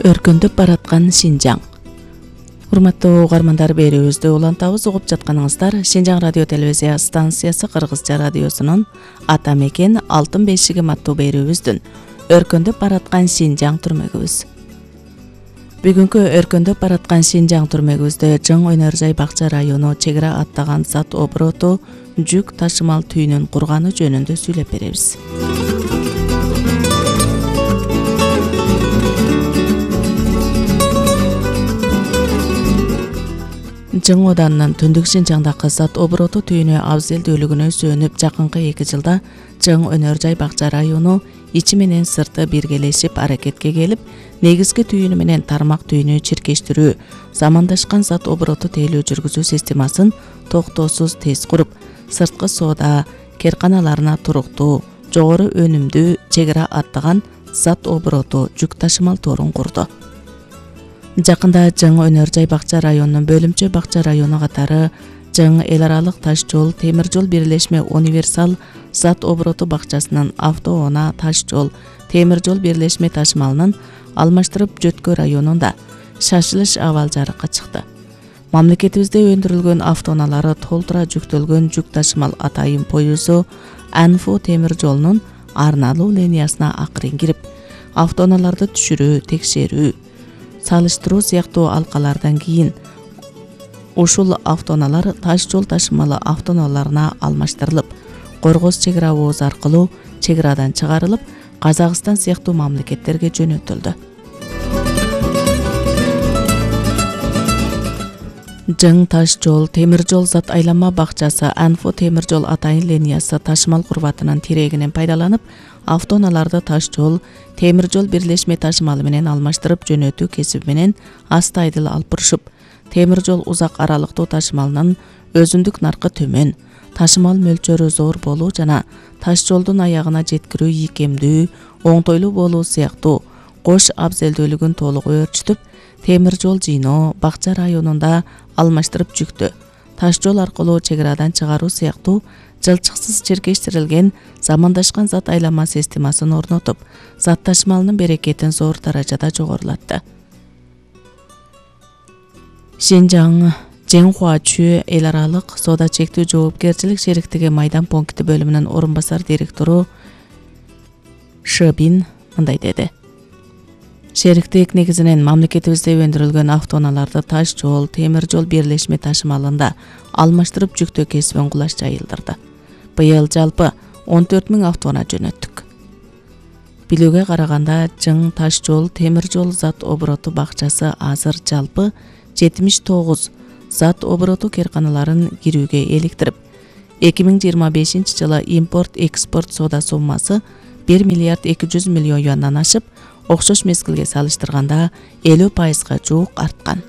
Өркүндөп бараткан Шинжаң. Урматтуу угармандар, берүүбүздү улантабыз. Угуп жатканыңыздар Шинжаң радио телевизия станциясы Кыргызча радиосунун Ата мекен алтын бешигим аттуу берүүбүздүн Өркүндөп бараткан Шинжаң түрмөгүбүз. Бүгүнкү Өркүндөп бараткан Шинжаң түрмөгүбүздө Жың Өнөр Жай Бакча району чек ара аттаган зат обороту жүк ташымал түйүнүн курганы жөнүндө сүйлөп беребиз. Жың оданынын Түндүк Шинжаңдагы зат обороту түйүнү абзелдүүлүгүнө сүйөнүп, жакынкы 2 жылда Жың Өнөр Жай Бакча району ичи менен сырты биргелешип аракетке келип, негизги түйүнү менен тармак түйүнү чиркештирүү, замандашкан зат обороту тейлөө жүргүзүү системасын токтоосуз тез куруп, сырткы соода керканаларына туруктуу, жогору өнүмдүү чек ара аттаган зат обороту жүк ташымал торун курду. Жакында Жың Өнөр Жай Бакча районунун Бөлүмчө Бакча району катары Жың эл аралык таш жол темир жол бирлешме универсал зат обороту бакчасынын автоунаа таш жол темир жол бирлешме ташымалынын алмаштырып жөткө районунда шашылыш абал жарыкка чыкты. Мамлекетибизде өндүрүлгөн автоунаалары толтура жүктөлгөн жүк ташымал атайын поюзу Анфо темир жолунун арналуу линиясына акырын кирип, автоунааларды түшүрүү, текшерүү, салыштыруу сыяктуу алкалардан кийин ушул автоунаалар таш жол ташымалы автоунааларына алмаштырылып, Коргоз чек ара обозу аркылуу чек арадан чыгарылып, Казакстан сыяктуу мамлекеттерге жөнөтүлдү. Жың таш жол темир жол зат айланма бакчасы Анфо темир жол атайын линиясы ташымал курбатынын тирегинен пайдаланып, автоунааларды таш жол темир жол бирлешме ташымалы менен алмаштырып жөнөтүү кесиби менен астайдыл алып бурушуп, темир жол узак аралыктуу ташымалынын өзүндүк наркы төмөн, ташымал мөлчөрү зор болуу жана таш жолдун аягына жеткирүү ийкемдүү, оңтойлуу болуу сыяктуу кош абзелдүүлүгүн толук өөрчүтүп, темир жол жыйноо Бакча районунда алмаштырып жүктү таш жол аркылуу чек арадан чыгаруу сыяктуу жылчыксыз чиркештирилген замандашкан зат айланма системасын орнотуп, зат ташымалынын берекетин зор даражада жогорулатты. Шинжаң Жеңхуачү эл аралык соода чектүү жоопкерчилик шериктиги майдан пункти бөлүмүнүн орун басар директору Шыбин мындай деди. Шериктик негизинен мамлекетибизде өндүрүлгөн автоунааларды таш жол, темир жол бирлешме ташымалында алмаштырып жүктөө кесибин кулаш жайылдырды. Быйыл жалпы 14 000 автоунаа жөнөттүк. Билүүгө караганда Жың таш жол, темир жол зат обороту бакчасы азыр жалпы 79 зат обороту керканаларын кирүүгө эликтирип, 2025 жылы импорт-экспорт соода суммасы 1 миллиард 200 миллион юандан ашып, окшош мезгилге салыштырганда 50% жуук арткан.